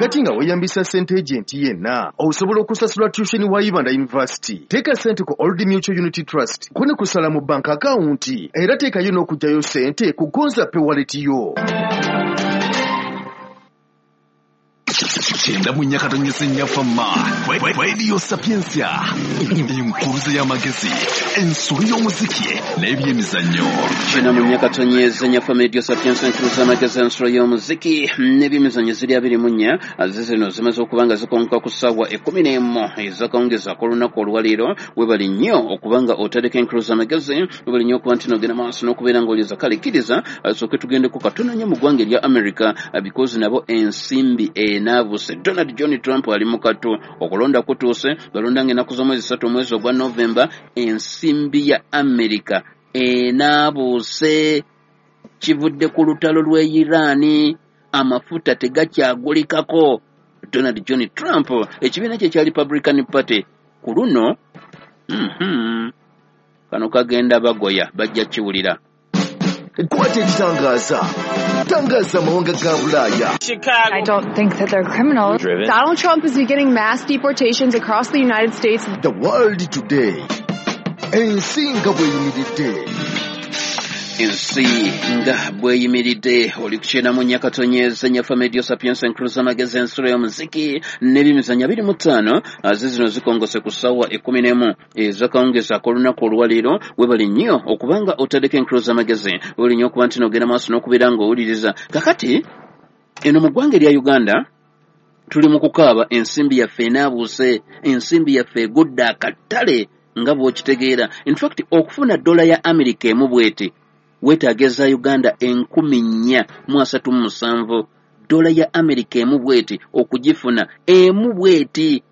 Kaakati nga weeyambisa ssente agent yenna, osobola okusasula tuition wa Ibanda University. Teeka ssente ku Old Mutual Unity Trust ko ne kusala mu bank account, era teekayo n'okuggyayo ssente ku Gonza Pay wallet yo. 94.4 Fama Radio Sapientia, enkuruze y'amagezi, ensolo y'omuziki n'ebyemizannyo. 94.4 Fama Radio Sapientia, enkuruze y'amagezi, ensolo y'omuziki n'ebyemizannyo ziri 24. Zino zimaze okuba nga zikonka ku ssaawa 11 ezakawungezi ak'olunaku olwaleero. Webali nnyo okuba nga otadeko enkuruze y'amagezi, webali nnyo okuba nti nogenda maaso n'okubeera ng'oliza. Kale kkiriza sooke tugendeko katono nnyo mu ggwanga erya America, because nabo ensimbi enaabuse. Donald John Trump ali mu kattu, okulonda kutuuse, balonda ng'ennaku z'omwezi 3 omwezi ogwa Novemba. Ensimbi ya America enaabuuse, kivudde ku lutalo lw'e Iran, amafuta tegakyagulikako. Donald John Trump ekibiina kye kya Republican Party ku luno kano kagenda bagoya, bajja kiwulira. Kwata ekitangaza, tangaza amawanga ga Bulaaya. Chicago. I don't think that they're criminals. Driven. Donald Trump is beginning mass deportations across the United States. The World Today, ensi nga bw'eyimiridde. Ensi nga bw'eyimiridde. Oli ku 94.4 Fama Radio Sapientia, enkuruza amagezi, ensolo y'omuziki n'ebyemizannyo 25. Zino zikongose ku ssaawa 11 ezakawungezi ak'olunaku olwaleero. Webali nnyo okubanga otaddeko enkuruza amagezi, webali nnyo okuba nti n'ogenda maaso n'okubeera ng'owuliriza. Kakati eno mu ggwanga erya Uganda tuli mu kukaaba, ensimbi yaffe enaabuuse, ensimbi yaffe egudde akatale nga bw'okitegeera. In fact, okufuna dola ya America emu bw'eti weetaaga eza Uganda 4,437. Dola ya America emu bw'eti okugifuna, emu bw'eti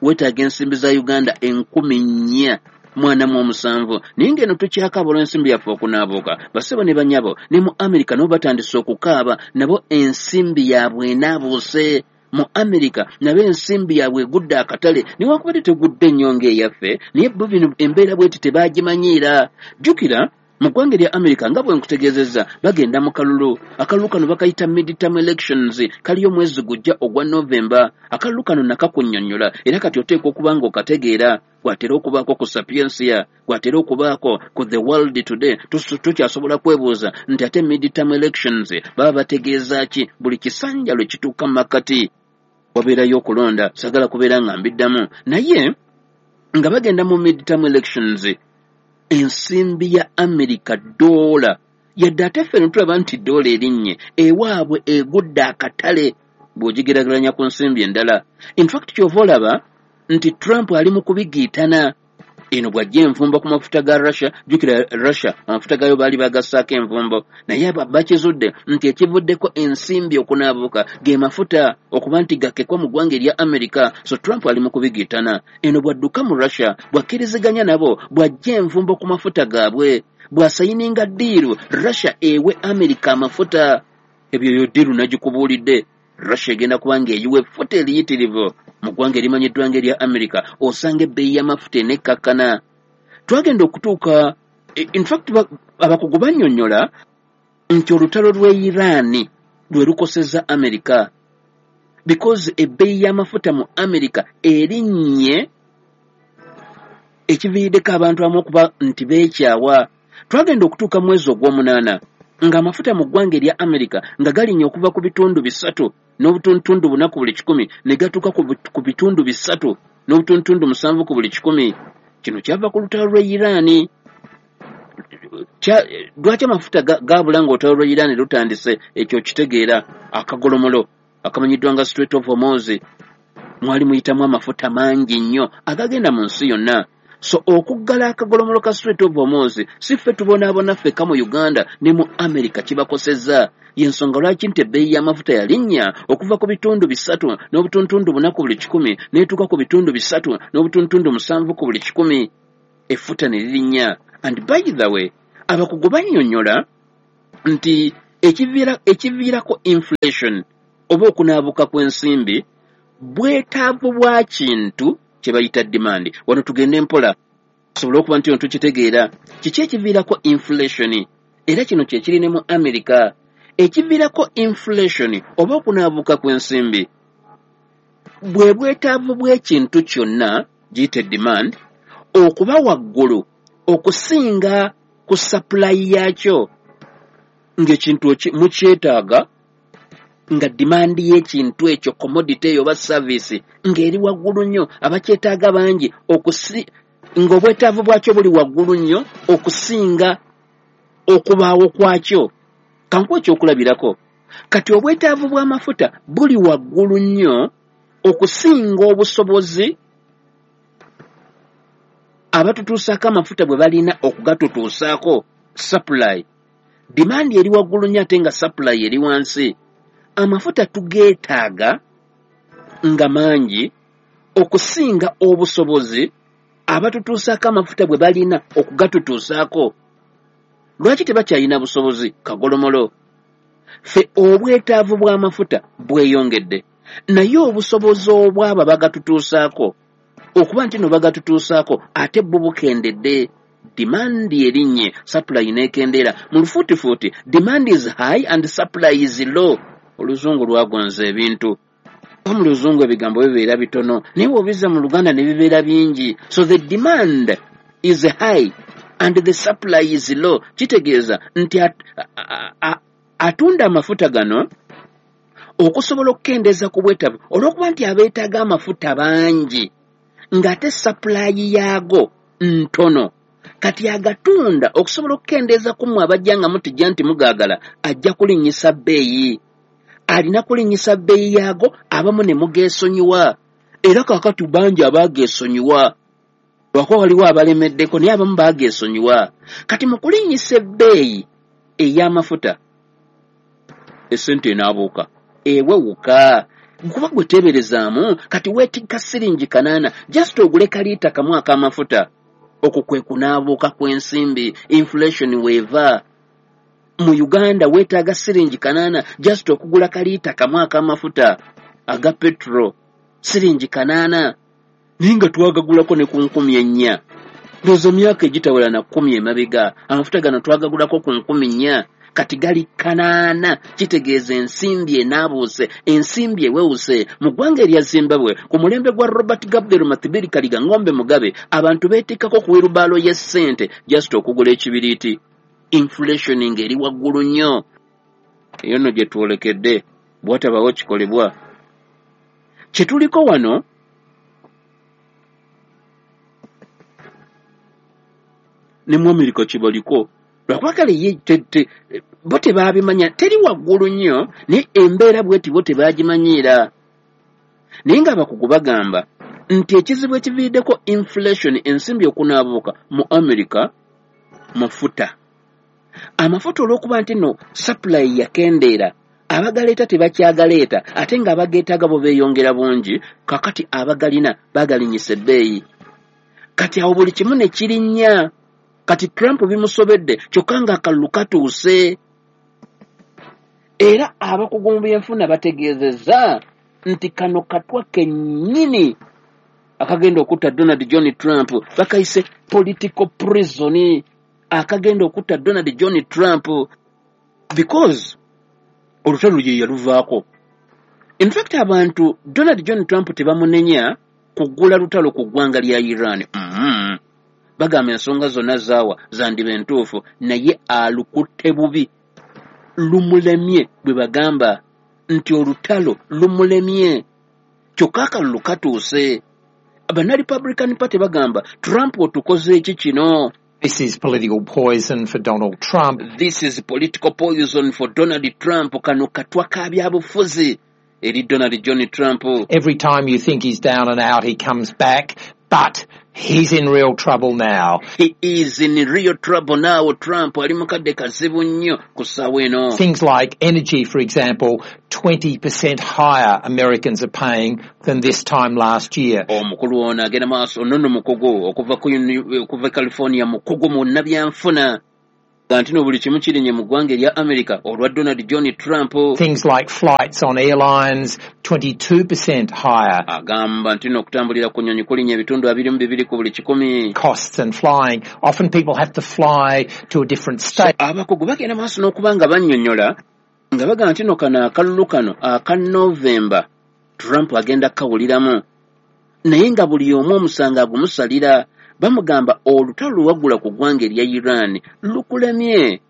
weetaaga ensimbi za Uganda 4,437. Naye ng'eno tukyakaaba olw'ensimbi yaffe okunaabuuka. Bassebo ne bannyabo, ne mu America nabo batandise okukaaba, nabo ensimbi yaabwe enaabuuse. Mu America nabo ensimbi yaabwe egudde akatale, newankubadde tegudde nnyo ng'eyaffe, naye bo bino embeera bw'eti tebaagimanyiira. Jjukira mu ggwanga erya America nga bwe nkutegeezezza, bagenda mu kalulu. Akalulu kano bakayita midterm elections, kaliyo omwezi gujja ogwa November. Akalulu kano nakakunnyonnyola, era kati oteekwa okuba ng'okategeera. Gwatera okubaako ku Sapientia, gwatera okubaako ku The World Today. Tukyasobola kwebuuza nti ate midterm elections baba bategeeza ki? Buli kisanja lwe kituuka mu makkati wabeerayo okulonda. Saagala kubeera nga mbiddamu, naye nga bagenda mu midterm elections, ensimbi ya America dola, yadde ate ffe ne tulaba nti dola erinnye, ewaabwe egudde akatale bw'ogigeraageranya ku nsimbi endala. In fact, ky'ova olaba nti Trump ali mu kubigiitana. Eno bw'ajja envumbo ku mafuta ga Russia, jjukira Russia amafuta gaayo baali bagassaako envumbo, naye bakizudde nti ekivuddeko ensimbi okunaabuuka ge mafuta okuba nti gakkekwa mu ggwanga erya America. So Trump ali mu kubigiitana. Eno bw'adduka mu Russia, bw'akkiriziganya nabo, bw'ajja envumbo ku mafuta gaabwe, bw'asayininga ddiiru Russia ewe America amafuta. Ebyo yo ddiiru nagikubuulidde. Russia egenda kuba ng'eyiwa effuta eriyitirivu mu ggwanga erimanyiddwa ng'erya America, osanga ebbeeyi y'amafuta enekkakkana. Twagenda okutuuka, in fact abakugu bannyonnyola nti olutalo lw'e Iran lwe lukosezza America, because ebbeeyi y'amafuta mu America erinnye, ekiviiriddeko abantu abamu okuba nti beekyawa. Twagenda okutuuka mu mwezi ogw'omunaana ng'amafuta mu ggwanga erya America nga galinnya okuva ku bitundu 3.4 ku buli kikumi ne gatuuka ku bitundu 3.7 ku buli kikumi. Kino kyava ku lutalo lw'e Iran. Lwaki amafuta gaabula ng'olutalo lw'e Iran lutandise? Ekyo kitegeera. Akagolomolo akamanyiddwa nga Strait of Hormuz mwali muyitamu amafuta mangi nnyo agagenda mu nsi yonna. So okuggala akagolomolo ka Strait of Hormuz, si ffe tubonaabona ffekka mu Uganda, ne mu America kibakosezza. Y'ensonga lwaki nti ebbeeyi y'amafuta yalinnya okuva ku bitundu 3.4 ku buli kikumi n'etuuka ku bitundu 3.7 ku buli kikumi, effuta ne lirinnya. And by the way, abakugu bannyonnyola nti ekiviirako inflation oba okunaabuka kw'ensimbi bwetaavu bwa kintu kye bayita demand. Wano tugende mpola tusobole okuba nti tukitegeera kiki ekiviirako inflation, era kino kye kiri ne mu America. Ekiviirako inflation oba okunaabuka kw'ensimbi Bwe bwetaavu bw'ekintu kyonna, giyite demand, okuba waggulu okusinga ku supply yaakyo, ng'ekintu mukyetaaga, nga demand y'ekintu ekyo, commodity eyo oba service, ng'eri waggulu nnyo, abakyetaaga bangi, ng'obwetaavu bwakyo buli waggulu nnyo okusinga okubaawo kwakyo. Kankuwe ekyokulabirako. Kati obwetaavu bw'amafuta buli waggulu nnyo okusinga obusobozi abatutuusaako amafuta bwe balina okugatutuusaako, supply. Demand eri waggulu nnyo ate nga supply eri wansi. Amafuta tugeetaaga nga mangi okusinga obusobozi abatutuusaako amafuta bwe balina okugatutuusaako. Lwaki tebakyalina busobozi? Kagolomolo. Ffe obwetaavu bw'amafuta bweyongedde, naye obusobozi obwabo bagatutuusaako okuba nti no bagatutuusaako ate bwo bukendedde. Demand erinnye, supply n'ekendeera. Mu lufuutifuuti, demand is high and supply is low. Oluzungu lwagonza ebintu. Mu luzungu ebigambo bibeera bitono, naye bw'obizza mu Luganda ne bibeera bingi. So the demand is high and the supply is low. Kitegeeza nti atunda amafuta gano okusobola okukendeeza ku bwetaavu, olw'okuba nti abeetaaga amafuta bangi ng'ate supply yaago ntono, kati agatunda okusobola okukendeeza ku mmwe abajja nga mutijja nti mugaagala, ajja kulinnyisa bbeeyi. Alina kulinnyisa bbeeyi yaago, abamu ne mugeesonyiwa. Era kaakati bangi abaageesonyiwa, lwakuba waliwo abalemeddeko, naye abamu baageesonyiwa. Kati mu kulinnyisa ebbeeyi ey'amafuta, essente enaabuuka, ewewuka. Kuba gwe teeberezaamu, kati weetikka siringi 800 just ogule kaliita kamu ak'amafuta. Okwo kwe kunaabuuka kw'ensimbi, inflation weeva. Mu Uganda weetaaga siringi 800 just okugula kaliita kamu ak'amafuta aga petro, siringi 800, naye nga twagagulako ne ku 4,000. Ndowooza myaka egitawera na 10 emabega amafuta gano twagagulako ku 4,000, kati gali 800. Kitegeeza ensimbi enaabuuse, ensimbi ewewuse. Mu ggwanga erya Zimbabwe ku mulembe gwa Robert Gabriel Mathibeli Kaliga Ng'ombe Mugabe, abantu beetikkako ku wirubaalo y'essente just okugula ekibiriiti. Inflation ng'eri waggulu nnyo. Eyo nno gye twolekedde bw'otabawo kikolebwa. Kye tuliko wano ne mu Amerika kibaliko, lwakuba kale ye bo tebaabimanya, teri waggulu nnyo, naye embeera bw'eti bo tebaagimanyiira. Naye ng'abakugu bagamba nti ekizibu ekiviiriddeko inflation, ensimbi okunaabuuka mu Amerika, mafuta. Amafuta olw'okuba nti nno supply yakendeera, abagaleeta tebakyagaleeta, ate ng'abageetaaga bo beeyongera bungi, kakati abagalina bagalinnyisa ebbeeyi. Kati awo buli kimu ne kirinnya. Kati Trump bimusobedde, kyokka ng'akalulu katuuse. Era abakugu mu byenfuna bategeezezza nti kano katwa kennyini akagenda okutta Donald John Trump, bakayise political prison, akagenda okutta Donald John Trump, because olutalo ye yaluvaako. In fact, abantu Donald John Trump tebamunenya kuggula lutalo ku ggwanga lya Iran. Bagamba ensonga zonna zaawa zandiba entuufu, naye alukutte bubi, lumulemye. Bwe bagamba nti olutalo lumulemye, kyokka akalulu katuuse. Banna Republican Party bagamba, Trump otukoze eki kino? This is political poison for Donald Trump. This is political poison for Donald Trump. Kano katwa ka byabufuzi eri Donald John Trump. Every time you think he's down and out, he comes back, but he's in real trouble now. He is in real trouble now. Trump ali mu kadde kazibu nnyo ku ssaawa eno. Things like energy, for example, 20% higher Americans are paying than this time last year. Omukulu ono agenda maaso nonno mukugu okuva California, mukugu mu nnabyanfuna, nga nti no buli kimu kirinye mu ggwanga erya America olwa Donald John Trump. Things like flights on airlines, 22% higher. Agamba nti no okutambulira ku nnyonyi kulinnya ebitundu 22 ku buli kikumi. Costs and flying. Often people have to fly to a different state. So, abakugu bagenda maaso n'okuba nga bannyonnyola nga bagamba nti no kano akalulu kano aka November Trump agenda kukawuliramu, naye nga buli omu omusango agumusalira. Bamugamba olutalo lwe waggula ku ggwanga erya Iran lukulemye.